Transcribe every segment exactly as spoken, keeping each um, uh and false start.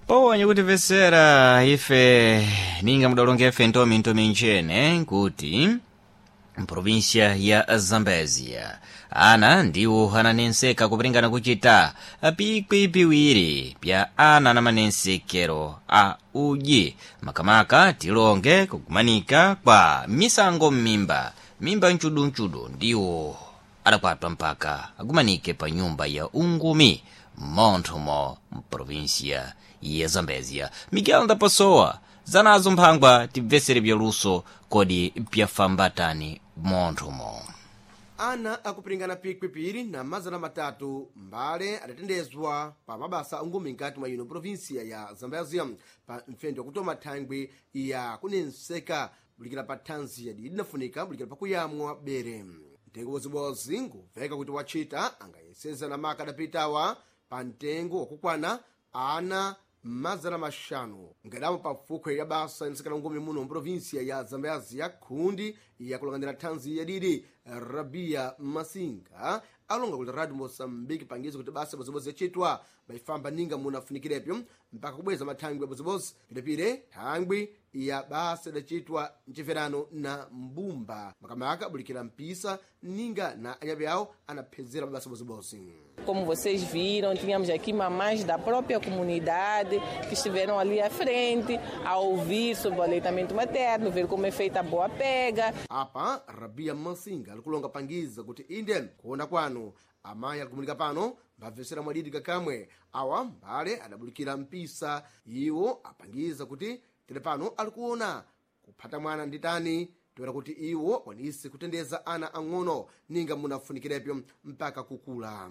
Powonye kutimvetsera ife ninga mudalonga ife ntomi ntomi nchene nkuti mprovinsia ya Zambezia ana ndiwo ananenseka kupringana kuchita pikwi piwiri pya ana na manensekero a uji makamaka tilonge kukumanika kwa misango m'mimba mimba mchudumchudu ndiwo adakwatwa mpaka akumanike pa nyumba ya ungumi monthomo mprovinsia ya Zambezia. Miguel Ndapasowa zanazo mphangwa tibvesere byaluso kodi pyafambatani monthomo. Ana akupiringana pikwi piri na mazana matatu mbale adatendezwa pa mabasa ungumi nkati mwa ino provinsia ya Zambezia pa mfendo wakutoma thangwi ya kunenseka bulikira pa thanzi yadi idinafunika bulikira pakuyamwa bere. Mtengo wozibozi ngubveka kuti wachita angayeseza na maka adapitawa pa mtengo wakukwana ana mazana maxanu ngadamo pa fukhwe ya basa insekana ngumi muno mprovinsia ya Zambezia khundi yakulangandira thanzi yadidi Rabia Masinga alonga kuti Radio Moçambique pangizo kuti basa bozibozi yachitwa bayifamba ninga munafunikirepo mpaka kubweza mathangwi ya bozibozi pilepile thangwi ya basa idacitwa mchimverano na mbumba makamaka bulikira mpisa ninga na anyabe awo anaphezera mabasa bozibozi. Como vocês viram, tínhamos aqui mamães da própria comunidade que estiveram ali à frente a ouvir sobre o aleitamento materno, ver como é feita a boa pega. Apa Rabia Masinga alikulonga pangiza kuti inde kuona kwanu amayi alikumanika pano mbabvesera mwadidi kakamwe awa mbale adabulikira mpisa iwo apangiza kuti tele pano alikuona kuphata mwana nditani toera kuti iwo akwanise kutendeza ana ang'ono ninga munafunikirepo mpaka kukula.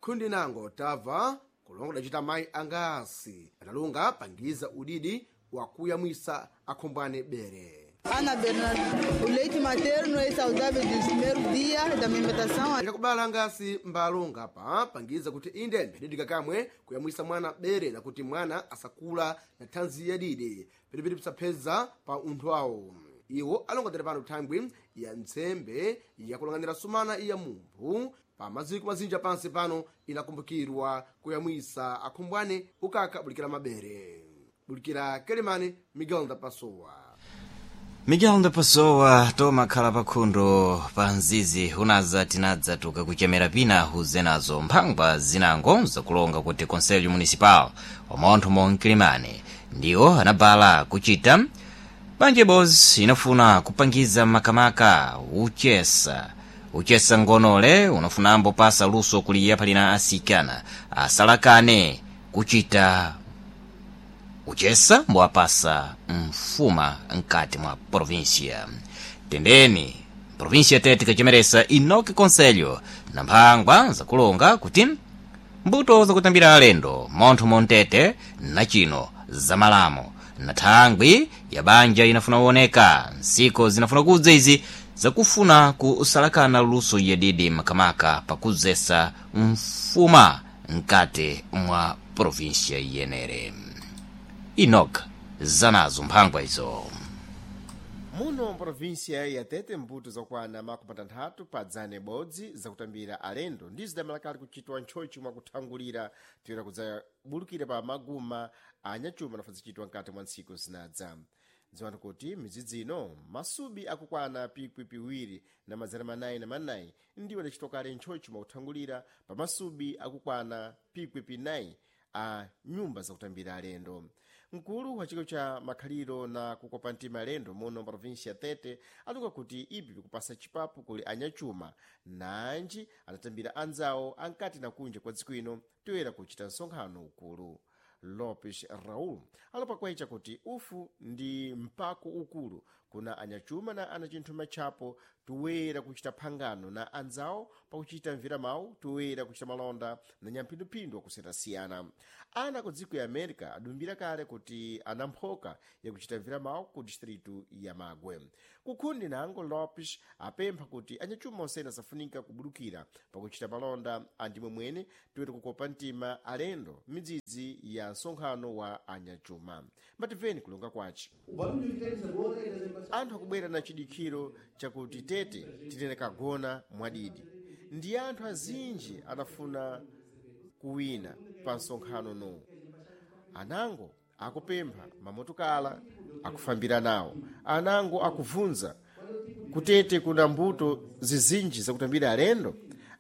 Khundi nango tabva kulonga dacita mayi angasi adalunga pangiza udidi wakuyamwisa akhombwane bere. Ana Bernardo, o leite materno é saudável desde o primeiro dia da amamentação. Ndakubala angasi mbalonga pa pangiza kuti inde mbedidika kamwe kuyamwisa mwana bere na kuti mwana asakula na thanzi yadidi pilipili pisapheza pa unthu awo. Iwo alongotere pano thangwi ya ntsembe yakulang'anira sumana iya mumphu pa maziko mazinja pansi pano inakumbukirwa kuyamwisa akhumbwane ukaka bulikira mabere. Bulikira Kelemani, Miguel Ndapasowa. Miguel Ndapasowa tomakhala pakhundo pa mzizi unaza tinadza tukakuchemera pina huzenazo mphangwa zinango zakulonga kuti Conselho Municipal wa monthomo mkilimani ndiwo anabala kuchita banja ibodzi inafuna kupangiza makamaka uchesa uchesa ngonole unafunambo pasa luso kuliya palina asikana asalakane kuchita uchesa mbowapasa mfuma mkati mwa província. Tendeni província tete kachemeresa inoki conselho na mphangwa zakulonga kuti mbuto zakutambira alendo montho montete na chino zamalamo na thangwi ya banja inafuna kuoneka nsiko zinafuna kudza izi zakufuna kusalakana luso yadidi makamaka pakuzesa mfuma mkati mwa província yenere. Enoch zanazo mphangwa izo. Muno mprovinsia ya Tete mbuto zakwana makumi atanthatu pa dzana ibodzi zakutambira alendo ndizo zidamalakali kuchitwa ntchotchi mwakuthangulira toyera kudzabulukira pa maguma anyachuma nafa zichitwa mkati mwa ntsiku zinadza. Dziwani kuti midzidzi ino masubi akukwana pikwi piwiri na mazana manayi na manayi ndiwo adacitwa kale ntchotchi mwakuthangulira pa masubi akukwana pikwi pinayi a nyumba zakutambira alendo. Mkulu wa chiko cha makhaliro na kukopa mtima alendo muno mprovinsia Tete alunga kuti ipi pikupasa chipapu kuli anyachuma nanji anatambira anzawo ankati na kunja kwa dziko ino toyera kuchita msonkhano ukulu. Lopes Raul alopa kwayicha kuti ufu ndi mpako ukulu kuna anyachuma na anachinthuma chapo toyera kuchita phangano na anzawo pakuchita mvira mawu toyera kuchita malonda na nyamphinduphindu akusiyana-siyana. Ana ku dziko ya America adumbira kale kuti ana mphoka yakuchita mvira mawu ku distritu ya Magwe. Kukhundi nango Lopes apempha kuti anyachuma osene asafunika kubudukira pakuchita malonda andimwe mwene toyera kukopa mtima alendo midzidzi ya msonkhano wa anyachuma. Mbatimveni kulonga kwace. Anthu akubwera na chidikhiro chakuti Tete tinene kagona mwadidi ndi anthu azinji anafuna kuwina pa msonkhano no. Anango akupempha mamotokala akufambira nawo, anango akuvunza kutete kuna mbuto zizinji zakutambira alendo,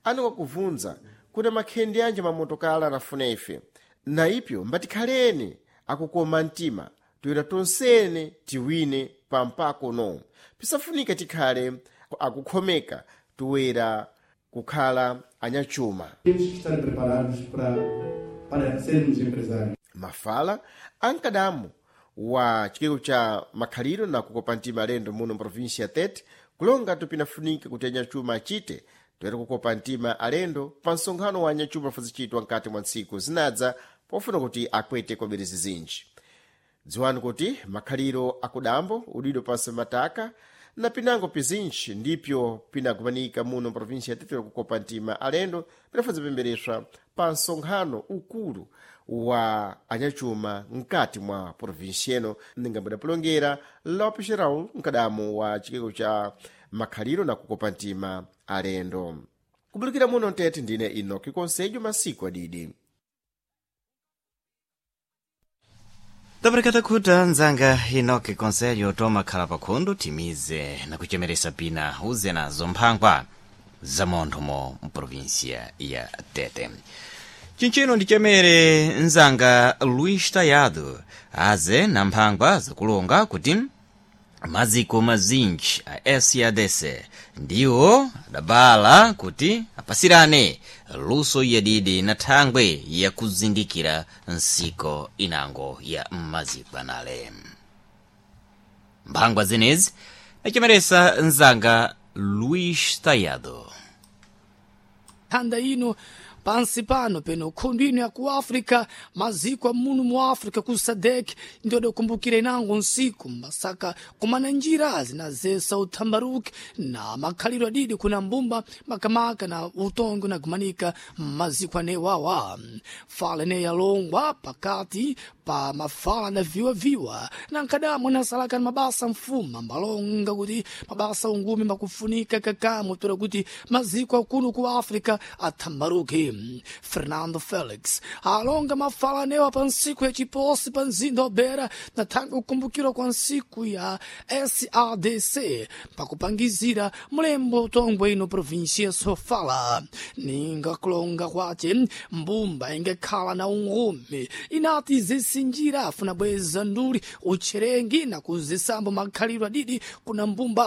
anango akuvunza kuna makhendi anje mamotokala anafuna ife. Na ipyo mbatikhaleni akukoma mtima toyera tonsene tiwine pampako no pisafunika tikhale akukhomeka toyera kukhala anyachuma. Temos que estar preparados para, para sermos empresários. Mafala ankadamu wa chikeko cha makhaliro na kukopa mtima alendo muno mprovinsia ya Tete kulonga tupinafunika kuti anyachuma achite toyera kukopa mtima alendo pa msonkhano wa anyachuma afazichitwa mkati mwa ntsiku zinadza pofuna kuti akwete kwabiri zizinji. Dziwani kuti makhaliro akudambo udido pansi mataka na pinango pizinji ndipyo pinagumanika muno mprovinsia ya Tete kukopa mtima alendo pinafazipembereswa pa msonkhano ukulu wa anyachuma mkati mwa provinsia ino ningambadapulongera Lopes Raul mkadamu wa chikeko cha makhaliro na kukopa mtima alendo. Kubulukira muno mtete ndine Enoki Konsejo masiku adidi. Taparekata khuta nzanga Enoki Konsejo tomakhala pakhundu timize na kuchemeresa pina uze nazo mphangwa za monthomo mprovinsia ya Tete. Chinchino ndichemere nzanga Luis Tayado aze na mphangwa zakulonga kuti maziko mazinji a S A D C ndiwo adabala kuti apasirane luso yadidi na thangwe yakuzindikira nsiko inango ya maziko anale. Mphangwa zenezi achemeresa nzanga Luis Tayado. Thanda ino pansi pano peno khundu ino ya ku Africa, maziko a munu mu Africa ku SADC ndio adakumbukira inango nsiku mbasaka kumana njira zinazesa uthambaruki na makhaliro adidi kuna mbumba makamaka na utongi unagumanika maziko anewawa. Fala ene yalongwa pakati pa mafala na viwaviwa na nkadamwe nasalaka na mabasa mfuma mbalonga kuti mabasa ungumi makufunika kakamwe tola kuti maziko akunu ku Africa athambaruke. Fernando Felix alonga mafala anewa pa nsiku ya chiposi pa mzinda wa Beira na thanga kukumbukirwa kwa nsiku ya S A D C pakupangizira mlembo utongwe ino provinsia Sofala. Ninga kulonga kwace mbumba ingekhala na ungumi inati zisinjira afuna bweza nduli utcherengi na kuzisambo makhalidwe adidi kuna mbumba.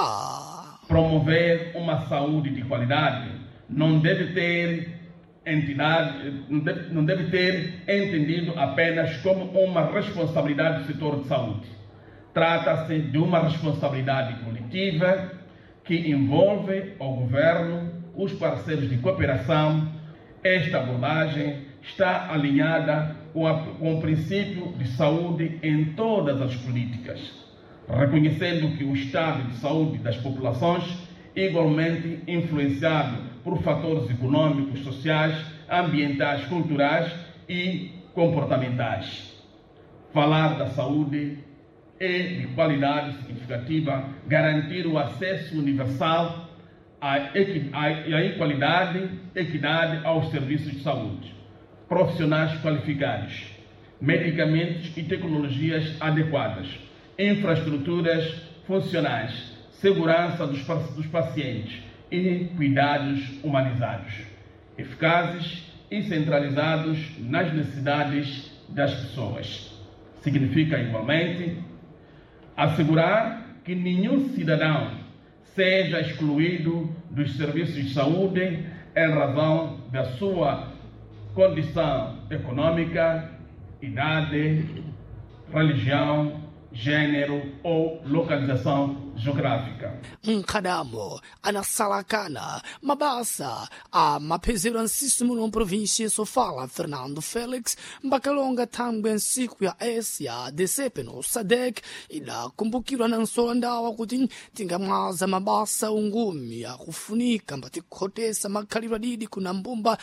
Promover uma saúde de qualidade não deve ter entidade, não deve, não deve ter entendido apenas como uma responsabilidade do setor de saúde. Trata-se de uma responsabilidade coletiva que envolve o governo, os parceiros de cooperação. Esta abordagem está alinhada com, a, com o princípio de saúde em todas as políticas, reconhecendo que o estado de saúde das populações, igualmente influenciado por fatores econômicos, sociais, ambientais, culturais e comportamentais. Falar da saúde é de qualidade significativa, garantir o acesso universal à, equi à equalidade, equidade aos serviços de saúde, profissionais qualificados, medicamentos e tecnologias adequadas, infraestruturas funcionais, segurança dos, dos pacientes e cuidados humanizados, eficazes e centralizados nas necessidades das pessoas. Significa, igualmente, assegurar que nenhum cidadão seja excluído dos serviços de saúde em razão da sua condição econômica, idade, religião, gênero ou localização geográfica. Mkhadamo anasalakana mabasa a maphezero ansisu muno mprovinsia Sofala Fernando Felix mbakalonga thangwe nsiku ya Asia D C no SADC idakumbukirwa na nsola ndawa kuti tingamwaza mabasa ungumi akufunika mbatikhotesa makhalidwe adidi kuna mbumba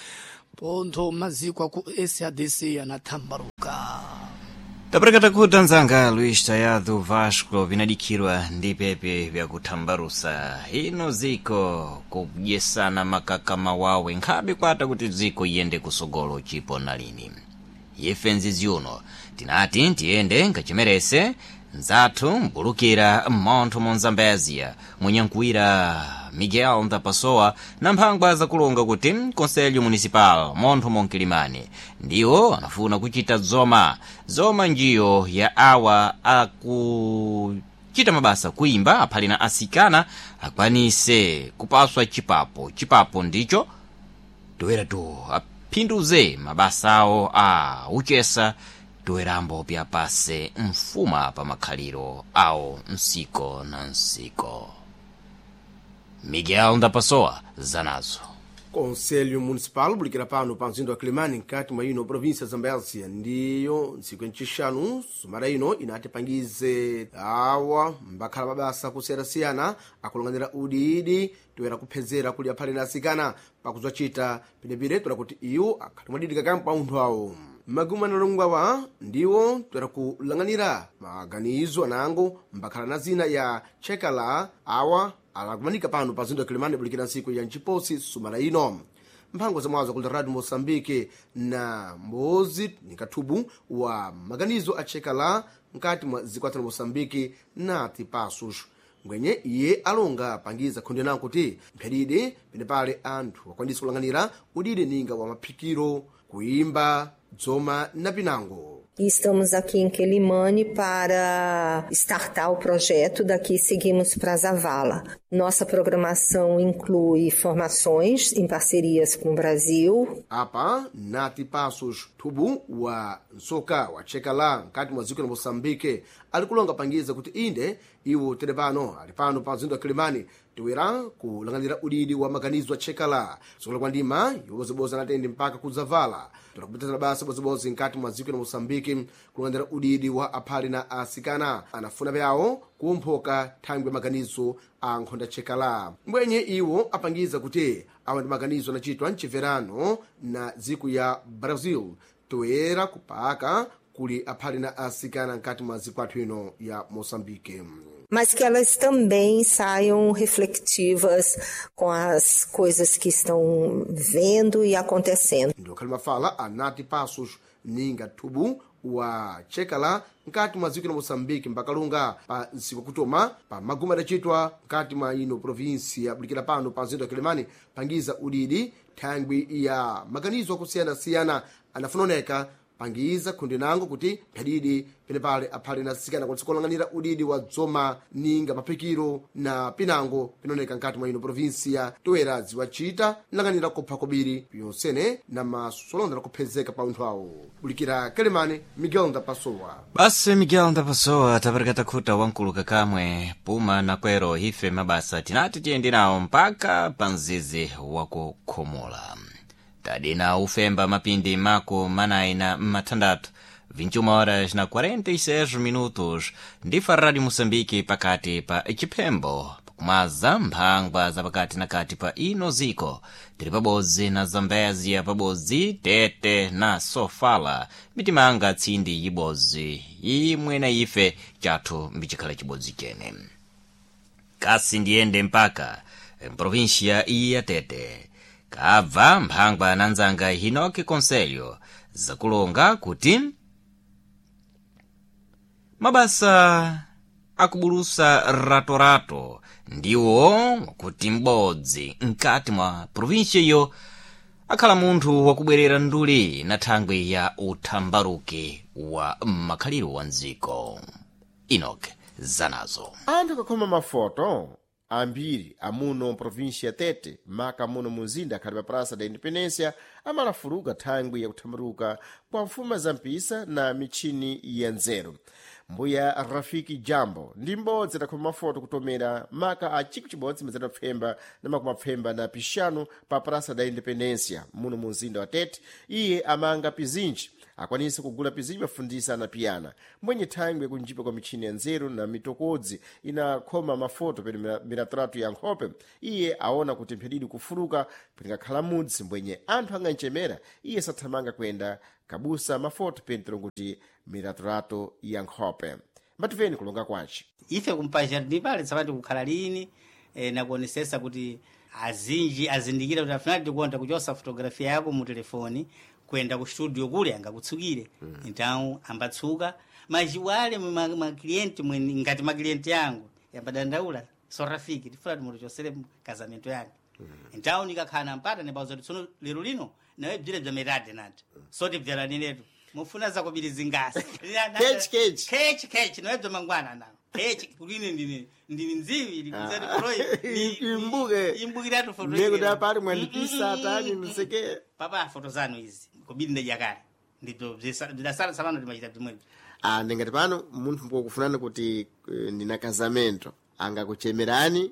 pontho maziko aku S A D C anathambaruka. Taparekata khuta nzanga Luis Tayado Vasco vinadikhirwa ndi pepe vyakuthambarusa ino ziko kudyesana makaka mawawe nkhabe kwata kuti ziko iyende kusogolo chipo na lini. Ife nzizi uno tinati tiyende nkachemerese nzathu mbulukira mmontho mu Zambezia munyankuwira Miguel Ndapasowa na mphangwa zakulonga kuti Conselho Municipal montho monkilimani ndiwo anafuna kuchita zoma zoma njiyo ya awa akuchita mabasa kuimba aphali na asikana akwanise kupaswa chipapo chipapo ndicho toeratu aphinduze mabasa awo a uchesa toerambo pyapase mfuma pa makhaliro awo msiko na msiko. Miguel Ndapasowa zanazo. Conselho Municipal bulikira pano pa mzinda wa Quelimane nkati mwa ino província ya Zambézia ndiyo ntsiku yancixanu sumana ino inati pangize awa mbakhala mabasa kusiyanasiyana akulang'anira udiidi toyera kuphezera kuli aphale na asikana pakuzacita penepire toera kuti iwo akhali mwadidika kampa unthu awo. Maguma analongwawa ndiwo toera kulang'anira maganizo anango mbakhala na zina ya chekala awa alakumanika pano pa zindu ya Quelimane bulikira ntsiku ya nciposi sumana ino. Mphango za mwazo kuli Radio Moçambique na mbozi ni kathubu wa maganizo achekala nkati mwa zikwata la Moçambique nati pasos ngwenye iye alonga pangiza khonde nawo kuti mphadide pene pale anthu akwanisa kulang'anira udide ninga wa maphikiro kuimba dzoma na pinango. E estamos aqui em Quelimane para startar o projeto, daqui seguimos para Zavala. Nossa programação inclui formações em parcerias com o Brasil. Apa nati passos thubu wa nsoka wa chekala nkati mwa dziko la Moçambique ali kulonga pangiza kuti inde iwo tere pano ali pano pa mzinda wa Quelimane tiwera kulang'anira udidi wa maganizo a chekala sukula kwa ndima yobozoboza natende mpaka kuzavala torakupitazana basa bozobozi nkati mwa dziko la Moçambique kulang'anira udidi wa aphali na asikana anafuna pyawo kumphoka thangwi maganizo a nkhonda chekala mbwenye iwo apangiza kuti awa ndi maganizo anachitwa mchimverano na dziko ya Brazil toyera kupaka kuli aphali na asikana nkati mwa dziko athu ino ya Moçambique. Mas que elas também saiam reflexivas com as coisas que estão vendo e acontecendo. Ndokhali mafala anati passos ninga thubu wa chekala nkati mwa dziko la Moçambique mbakalunga pa ntsiku kutoma pa maguma adacitwa nkati mwa ino província bulikira pano pa mzinda wa Quelimane pangiza udidi thangwi ya maganizo akusiyanasiyana anafunaoneka pangiza khundi nango kuti mphadidi penepale aphale na asikana kwatisa kulang'anira udidi wa dzoma ninga maphikiro na pinango pinaoneka nkati mwa ino província toera ziwacita nlang'anira kupha kobiri pyonsene na masolonda kuphezeka pa unthu awo. Bulikira Quelimane, Miguel Ndapasowa. Basi Miguel Ndapasowa tapereka takhuta wankuluka kamwe puma nakwero ife mabasa tinati tiyende nawo mpaka pa mzizi wakukhomola tadina ufemba mapindi mako manayi na mathandathu vinte e uma horas na quarenta e seis minutos ndifa Rádio Moçambique pakati pa chiphembo kumaza mphangwa za pakati na kati pa ino ziko tili pabodzi na Zambezia pabodzi Tete na Sofala mitimanga tsindi yibodzi imwe na ife chathu mbicikhala chibodzi chene kasi ndiyende mpaka mprovinsia ya Tete kabva mphangwa na nzanga Hinoki Conselho zakulonga kuti mabasa akubulusa ratorato ndiwo kuti m'bodzi mkati mwa provinsia iyo akhala munthu wakubwerera nduli na thangwi ya uthambaruki wa makhaliro wa mdziko. Enoch zanazo. Anthu akakhoma mafoto ambiri amuno mprovinsia ya Tete maka muno munzinda akhali pa Praça da Independência amalafuluka thangwi yakuthambaluka kwa mfuma za mpisa na mitchini ya nzeru. Mbuya Rafiki Jambo ndi m'bodzi adakhoma mafoto kutomera maka a chikwi chibodzi mazana pfemba na makumi apfemba na pixanu pa Praça da Independência muno munzinda wa Tete. Iye amanga pizinji akwanise kugula pizinji mafundisa anapiyana mbwenye thangwi kunjipa kwa mitchini ya nzeru na mitokodzi inakhoma mafoto pene miratratu ya nkhope. Iye aona kuti mphedidi kufuluka pingakhala mudzi mbwenye anthu anganchemera iye sathamanga kuyenda kabusa mafoto pentero kuti miratratu ya nkhope. Mbativeni kulonga kwace ife kumpajardim pale tsapati kukhala lini e, nakuonesesa kuti azinji azindikira kuti afunati tikonda kuchosa fotografia yako mu telefoni Kuenda ku studio kule angakutsukire. Então ambatsuka mas wale maklienti mwene ngati maklienti yangu yambadandaula so rafiki tifuna timutochosere casamento yange. Então nikakhala mpata nibauza kuti tsono lero lino nawe bzire bza metade nati soti bzalaninetu mufuna zakubiri zingasi. Kechi, kechi. Kechi kechi nawe bza mangwana nawo kechi kuline ndine ndini nziwi likuzati froi Imbuke. Imbukiratu foto Ndiye kuti ile. apali mwandipisa tani mseke. Papa foto zanu izi kubiri ndajakale ndibzo bzidasala tsapano timachita bzimwebzo. Ah, ndingati pano munthu mpokufunani kuti eh, ndina casamento angakuchemerani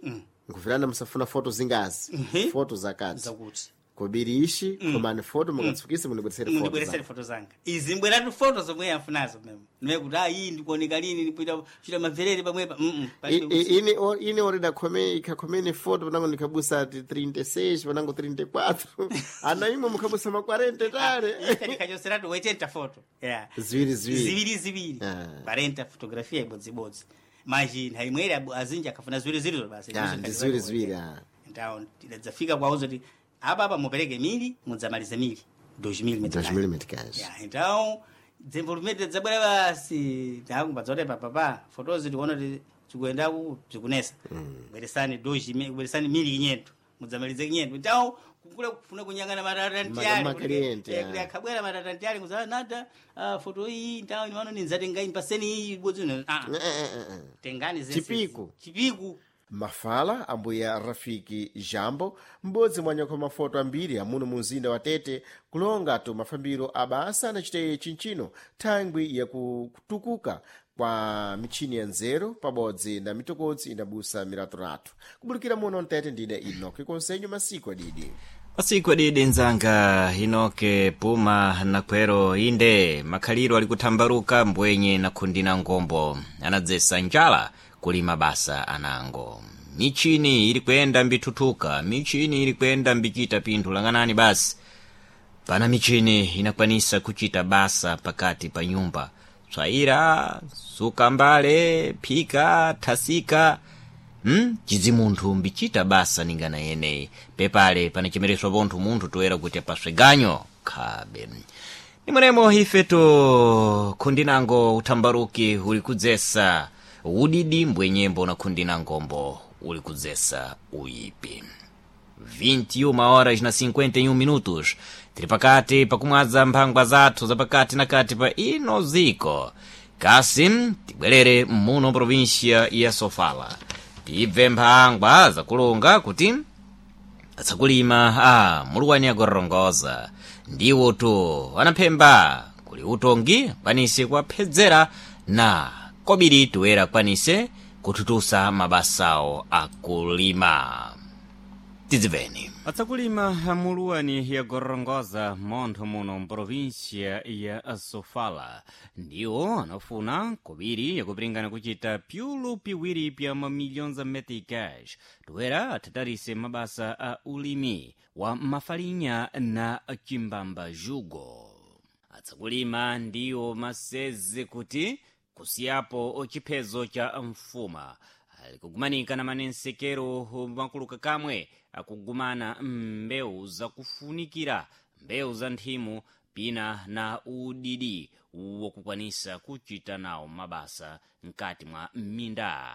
nkufirana musafuna foto zingazi Mhm. foto zakati Zakuti kobiri ishi komani foto mukatsukise mundibweresere foto mundibweresere zanu. foto zanga izi mbweratu foto zomwe amfunazo memo ndime kuti ah iyi ndikuoneka lini ndikuita kuchita mamverere pamwepa mm I- palibe i- ine o- ine orida khome ikhakhomene foto panango ndikhabusa ti trinta e seis panango trinta e quatro ana imwe mukhabusa ma quarenta tale. Ife ndikhachoseratu wetenta foto yeah. Ziwiri ziwiri. Ziwiri ziwiri. Ah. Quarenta fotografia ibodzibodzi maji nthawi imweri abu- azinji akhafuna ziwiri ziwiri basi. Ah, ndi ziwiri ziwiri ah. Então tidadzafika kwauza kuti apa apa mupereke mili mudzamalize mili dois mil dois mil meticais. Ya, então desenvolvimento dzabwera basi takumbadza papa fotozi tikuona kuti zikuendaku zikunesa bweresani dois mil bweresani mili kinyento mudzamalize kinyento. Então kukula kufuna kunyangana matatantiyali Ma- makaliente, kuti ah. akhabwera matatantiyali kuzala nada ah, foto iyi então imano ninzatenga impaseni iyi bodzi ah Eh, eh, eh, eh. tengani zense Chipiku. Chipiku. Mafala ambuya Rafiki Jambo m'bodzi mwa nyakho mafoto ambiri amuno mu mzinda wa Tete kulonga tu mafambiro abasa anachita chinchino thangwi yakutukuka kwa michini ya nzeru pabodzi na mitokodzi inabusa miratoratu kubulikira muno mtete ndine Inoke Konsenyo masiku adidi. Masiku adidi nzanga Inoke puma nakwero inde makhaliro ali kuthambaluka mbwenye na khundi na ngombo anadzesa njala kulima basa anango michini ili kuyenda mbithuthuka michini ili kuyenda mbichita pinthu lang'anani basi pana michini inakwanisa kuchita basa pakati pa nyumba tswaira suka mbale phika thasika hmm? Cidzi munthu mbichita basa ningana yeneyi pepale panachemereswa pontho munthu toyera kuti apaswe ganyo khabe nimwenemo ifeto khundinango uthambaruki uli kudzesa udidi mbwenyembo na khundinangombo uli kudzesa uyipi. vinte e uma horas na cinquenta e um minutos tili pakati pakumwaza mphangwa zathu zapakati na kati pa ino ziko kasi tibwerere muno província ya Sofala tibve mphangwa zakulunga kuti atsakulima a muluwani agorongoza ndiwo tu anaphemba kuli utongi kwanise kuwaphedzera na kobiri toyera kwanise kuthutusa mabasawo akulima tidzibveni. Atsakulima muluwani ya Gorongoza montho muno mprovinsia ya Sofala ndiwo anafuna kobiri yakupiringana kuchita pyulu piwiri pya mamiliyoni za meticas toera athatarise mabasa a ulimi wa mafalinya na chimbamba jugo. Atsakulima ndiwo maseze kuti kusiyapo chiphezo cha mfuma alikugumanika na manensekero makuluka kamwe akugumana mbewu zakufunikira mbewu za nthimu pina na udidi wokukwanisa kuchita nawo mabasa mkati mwa minda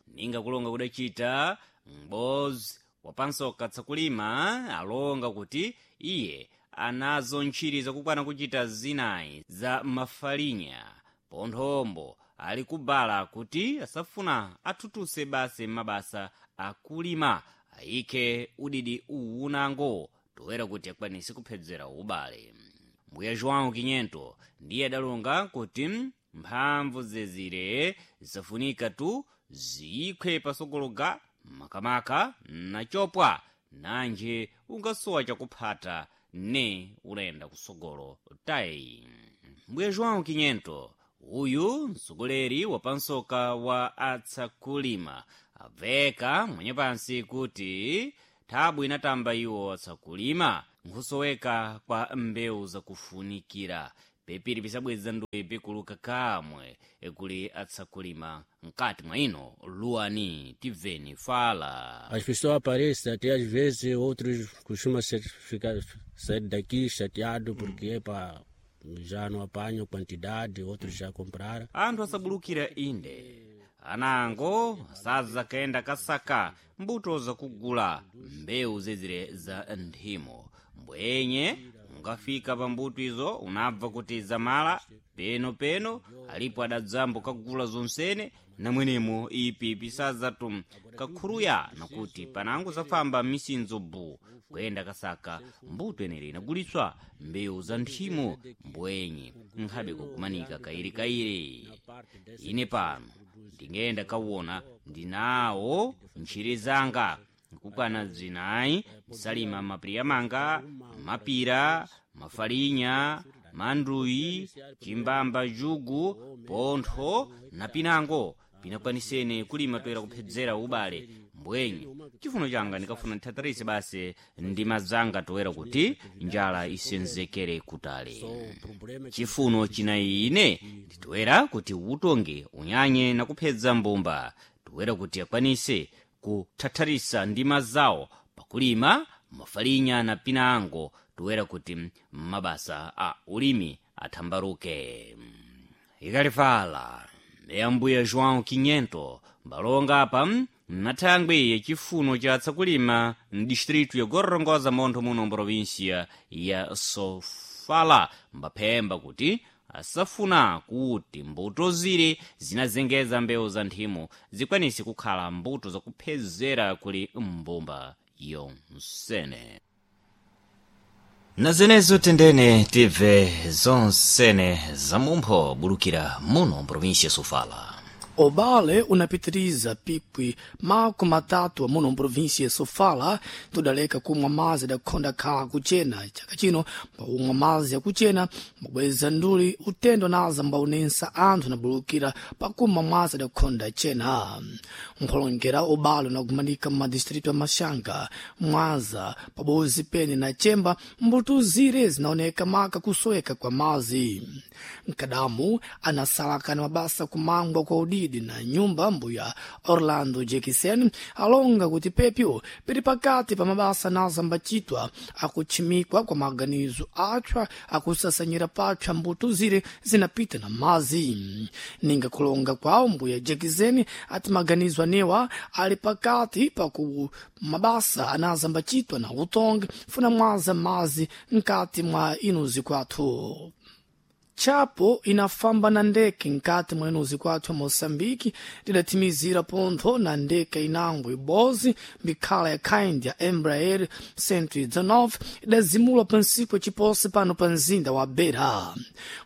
ninga kulonga kudachita m'bozi wapansoka tsakulima alonga kuti iye anazo ntchiri zakukwana kuchita zinayi za mafalinya ponthombo ali kubala kuti asafuna athuthuse basi mabasa akulima ayikhe udidi uwunango toera kuti akwanise kuphedzera ubale. Mbuya João Quinhento ndiye adalonga kuti mphamvu zezire zisafunika tu ziyikhwe pasogologa makamaka nachopwa nanje ungasowa chakuphata ne ulenda kusogolo tayi. Mbuya João Quinhento uyu mtsogoleri wapansoka wa atsakulima abveka mwenye pansi kuti thabu inatamba iwo atsakulima nkhusoweka kwa mbewu zakufunikira. Pepiri pisabweza ndowe pikuluka kamwe kuli atsakulima mkati mwa ino luwani tibveni fala. As pessoas aparecem, até às vezes outros costumam ser, ficar, sair daqui chateado porque epa, já não apanham quantidade, outros já compraram. Anthu asabulukira inde anango sadzakayenda kasaka mbuto zakugula mbewu zezire za nthimo mbwenye ungafika pa mbuto izo unabva kuti zamala peno peno alipo adadzambo kagula zonsene namwenemo ipi pisadzatu kakhuruya nakuti panango zafamba misinzo bu kuyenda kasaka mbuto enere inagulitswa mbewu za nthimo mbwenye nkhabe kukumanika kairikairi. Ine pano ndingenda kawona ndinawo ntchire zanga nkukwana zinayi nsalima mapiriya manga, mapira, mafalinya, manduyi, chimbamba, jugu, pontho na pinango pinakwanisene kulima toera kuphedzera ubale mbwenye chifuno changa ndikafuna ndithatharise basi ndima zanga toera kuti njala isenzekere kutali. Chifuno china ine nditoera kuti utonge unyanye na kuphedza mbumba toera kuti akwanise kuthatharisa ndima zawo pakulima mafalinya na pinango toera kuti mabasa a ulimi athambaruke. Ikalifala yambuya João Quinhento mbalonga apa nathangwi yachifuno cha tsakulima mdistritu ya Gorongosa montho muno mprovinsia ya Sofala mbaphemba kuti asafuna kuti mbuto zire zinazengeza mbewu za nthimo zikwanise kukhala mbuto zakuphezera kuli mbumba yonsene. Na zenezo tendene tibve zonsene zamumpho bulukira muno mprovinsia Sofala. Obale unapitiriza pikwi mako matatu amuno mprovinsia Sofala tudaleka kumwa mazi dakhonda khala kuchena. Chaka chino mbawumwa mazi yakuchena mbabweza nduli utendo naza mbaunensa anthu nabulukira pakumwa mazi adakhonda chena. Nkholongera obale unagumanika mmadistritu ya Maxanga, Mwanza, pabozi pene na Chemba mbuto zire zinaoneka maka kusoweka kwa mazi. Nkadamu anasalaka na mabasa kumangwa kwa udidi na nyumba mbuya Orlando Jekisen alonga kuti pepyo pili pakati pa mabasa naza mbachitwa akutchimikwa kwa maganizo atchwa akusasanyira patchwa mbuto zire zinapita na mazi. Ninga kulonga kwawo mbuya Jekisen ati maganizo anewa ali pakati paku mabasa anaza mbachitwa na utongi funa mwaza mazi nkati mwa inuzi kwathu. Chapo inafamba na ndeke nkati mwa inuzi kwathu ya Moçambique lidatimizira pontho na ndeke inango ibozi mbikhala ya kind ya Embraer cento e dezenove idazimulwa pa ntsiku yaciposi pano pa mzinda wa Beira.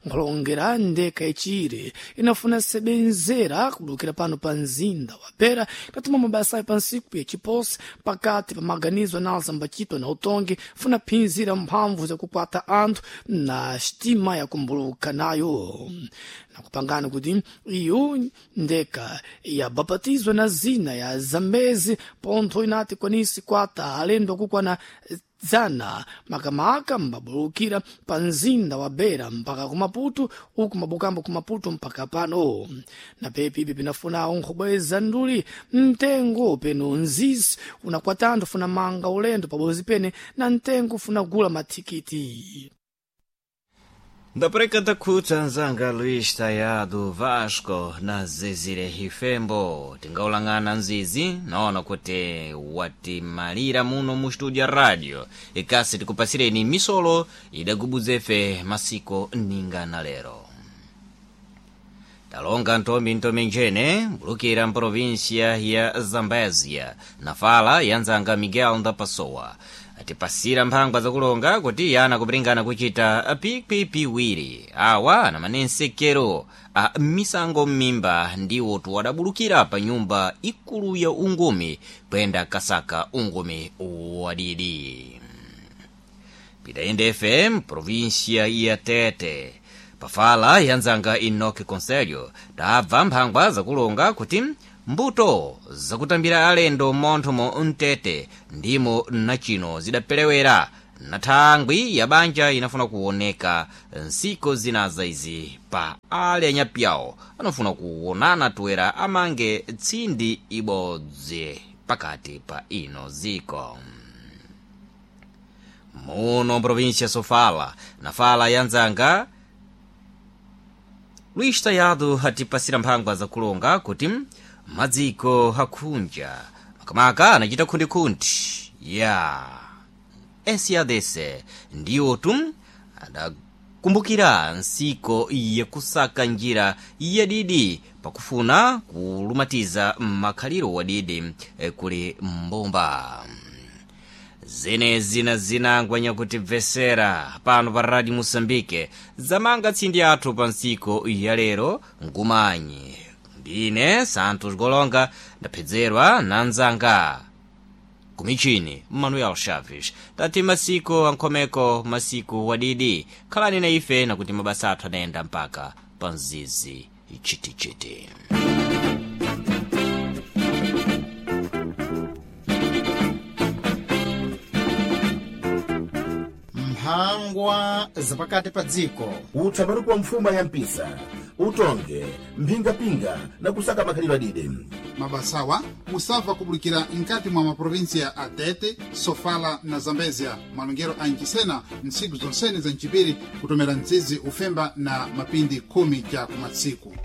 Nkhulongera ndeke yacire inafuna sebenzera kubulukira pano pa mzinda wa Beira idatuma mabasa pa ntsiku yaciposi pakati pa maganizo anaza mbachitwa na utongi funa phinzira mphamvu zakukwata anthu na sitima yakumbuluka nayo nakupangana kuti iyo ndeka yabapatizwa na zina ya Zambezi pontho inati kwanisi kwata alendo akukwana dzana makamaka mbabulukira pa mzinda wa Beira mpaka ku Maputo uku mabukambo ku Maputo mpaka pano. Na pepi ipi pinafunawo nkhobweza nduli mtengo peno nzizi unakwatanthu funa manga ulendo pabozi pene na mtengo funa gula mathikiti. Ndapereka ndakhutsa nzanga Luís Tayado Vasco na zezire ifembo tingaulang'ana nzizi naona kuti watimalira muno mu studio ya radio ikasi tikupasireni misolo idagubuzefe masiko ninga na lero. Talonga ntombi ntomi njene mbulukira mprovinsia ya Zambezia na fala ya nzanga Miguel Ndapasowa atipasira mphangwa zakulonga kuti yana kupringana kuchita pikwipiwiri awa na manensekero a misango m'mimba ndiwo tuwadabulukira pa nyumba ikulu ya ungumi kuyenda kasaka ungumi wadidi. Pitaende F M provinsia ya Tete pafala yanzanga Enoch Conselho tabva mphangwa zakulonga kuti mbuto zakutambira alendo monthomo mtete ndimo nachino zidapelewera Na thangwi ya banja inafuna kuoneka nsiku zinaza izi pa ale anyapyawo anafuna kuonana toera amange tsindi ibodzi pakati pa ino ziko. Muno província Sofala, na fala ya nzanga Luís Tayado atipasira mphangwa zakulonga kuti madziko akhunja makamaka anachita khundikhundi ya S A D C ndiwotu adakumbukira nsiko yakusaka njira yadidi pakufuna kulumatiza makhaliro wadidi eh, kuli mbomba zenezi na zinangwanya kuti bvesera pano pa Radio Moçambique zamanga tsindi athu pa ntsiko ya lero. Nkumanyi ndine Santos Golonga, ndaphedzerwa na nzanga kumichini Manuel Chaves. Tati masiku ankhomeko, masiku wadidi, khalani na ife nakuti mabasa athu anayenda mpaka pa mzizi chitichiti. Mphangwa zapakati pa dziko. Utsaparuku wa mfuma ya mpisa utonge mphingapinga na kusaka makhalidwe adide. Mabasawa musabva kubulikira nkati mwa maprovinsia a Tete, Sofala na Zambezia, malongero a Ncisena, ntsiku zonsene za ncipiri kutomera mtsizi ufemba na mapindi khumi ja kumatsiku.